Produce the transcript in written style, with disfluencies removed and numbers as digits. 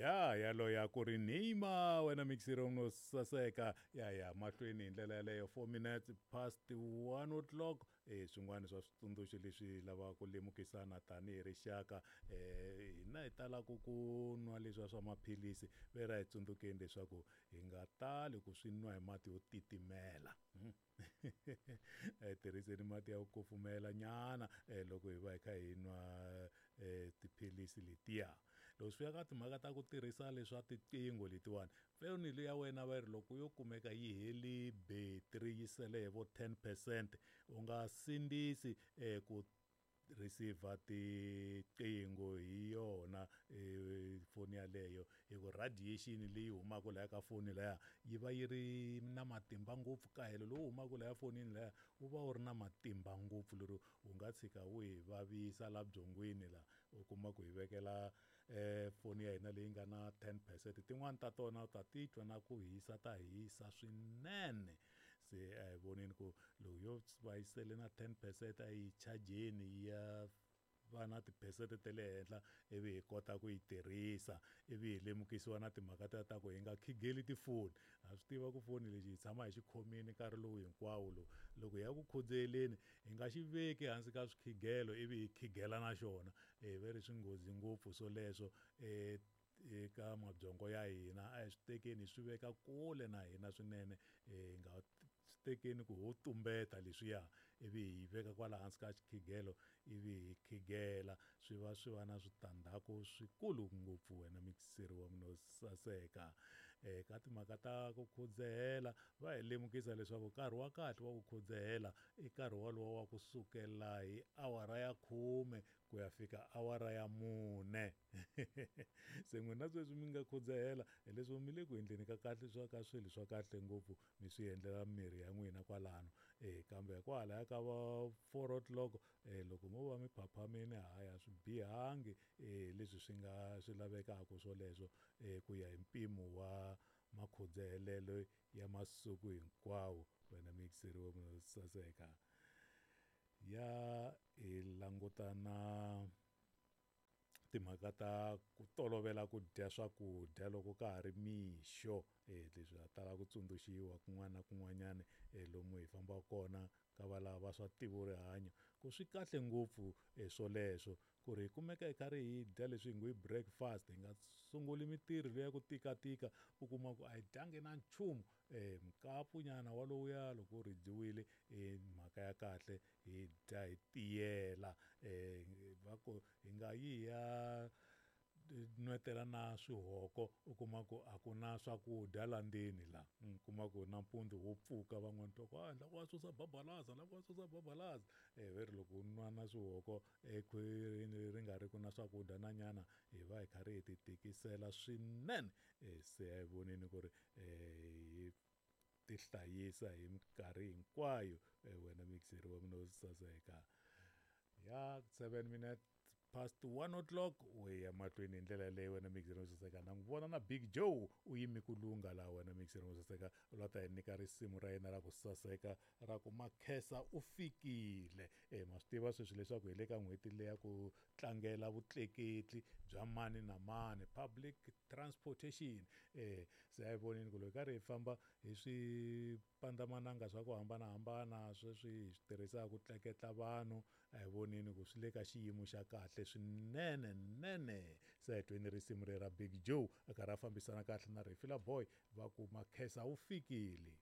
Ya yaloya ku ri Neymar wena mixiro no saseka ya ya mahlweni hi ndlela yaleyo 4 minutes past 1 o'clock. Swin'wana swa switsundzuxo leswi lavaka ku lemukisana tanihi rixaka, hina hi talaku ku nwa leswiya swa maphilisi ve ra hi tsundzukeni leswaku hi nga tali ku swi nwa hi mati yo titimela. Tirhiseni mati ya ku kufumela nyana loko hi va hi kha hi nwa tiphilisi letiya. Loko swi fika ka timhaka ta ku tirhisa leswa tiqingho letiwani, foni leyi ya wena va ri loko yo kumeka yi heli battery yi sele hi vo 10%, u nga sindzisi ku receiver tiqingho hi yona foni yaleyo, hi ku radiation leyi humaka laya ka foni laya yi va yi ri na matimba ngopfu. Kahelo lowu humaka laya fonini laya wu va wu ri na matimba ngopfu, lero wu nga tshika wu hi vavisa la byongweni la, u kuma ku hi vekela foni ya hina leyi nga na 10%. Tin'wani ta tona u ta titwa na ku hisa, ta hisa swinene. Se a hi voneni ku loko yo va yi sele na 10% a yi chajeni yi ya va na tiphesente ta le henhla, ivi hi kota ku yi tirhisa. Ivi hi lemukisiwa na timhaka ta ta ku hi nga khigeli tifoni. Ha swi tiva ku foni lexi hi tshama hi xi khomile nkarhi lowu hinkwawo lowu, loko hi ya ku khudzeleni hi nga xi veki hansi ka swikhigelo ivi hi khigela na xona. Ve ri swi nghozi ngopfu swoleswo eka mabyongo ya hina. A hi swi tekeni hi swi veka kule na hina swinene, hi nga swi tekeni ku ho tumbeta leswiya ivi hi veka kwala hansi ka xikhigelo ivi hi khigela, swi va swi va na switandzhaku swikulu ngopfu wena mixeri wa mina wo saseka. Ka timhaka ta ku khudzehela va hi lemukisa leswaku nkarhi wa kahle wa ku khudzehela i nkarhi walowo wa ku sukela hi awara ya 10 ku ya fika awara ya 4. Se n'wina sweswi mi nga khudzehela hileswi mi le ku endleni ka kahle swa ka swilo swa kahle ngopfu, mi swi endlela mirhi ya n'wina kwalano. Kambe kwalaya ka va 4 o'clock loko mo va mi phaphamile, hayi a swi bihangi leswi swi nga swi lavekaka swoleswo ku ya hi mpimo wa makhudzehelelo ya masiku hinkwawo wena mixeri wa mina saseka. Ya hi languta na timhaka ta ku tolovela ku dya swakudya loko ka ha ri mixo. Leswi ha tala ku tsundzuxiwa kun'wana na kun'wanyana lomu hi fambaka kona ka valava va swa ntivo rihanyo, ku swi kahle ngopfu swoleswo ku ri hi kumeka hi karhi hi dya leswi hi ngo i breakfast, hi nga sunguli mintirho leya ku tikatika, u kuma ku a hi dyangi na nchumu. Mukapu nyana walowuya loko wu rhijiwile i mhaka ya kahle, hi dya hi tiyela. Va ku hi nga yi hi ya nwetela na swihoko, u kuma ku a ku na swakudya la ndzeni la, u kuma ku nampundzu wo pfuka van'wani twa ku a la ku va susa babalaza, la ku va susa babalaza. Ve ri loko u nwa na swihoko ekhwirini ri nga ri ku na swakudya na nyana, hi va hi karhi hi ti tikisela swinene. Se a hi voneni ku ri hi ti hlayisa hi minkarhi hinkwayo wena mixeri wa mina wo saseka. Ya 7 minutes past 1 o'clock u ya mahlweni hi ndlela leyi wena mixeri wo saseka. Na n'wi vona na Big Joe u yime ku lungha laha wena mixeri wo saseka, u la ta hi nyika risimu ra yena ra ku saseka ra ku Makhesa u fikile. Ma swi tiva sweswi leswaku hi le ka n'hweti leya ku tlangela vutleketli bya mani na mani, public transportation. Se a hi voneni ku loko hi karhi hi famba hi swipandzamananga swa ku hambanahambana sweswi hi swi tirhisaka ku tleketla vanhu, a hi voneni ku swi le ka xiyimo xa kahle swinene nene. Se a hi tweni risimu leri ra Big Joe a karhi a fambisana kahle na Refila Boy, va ku Makhesa u fikile.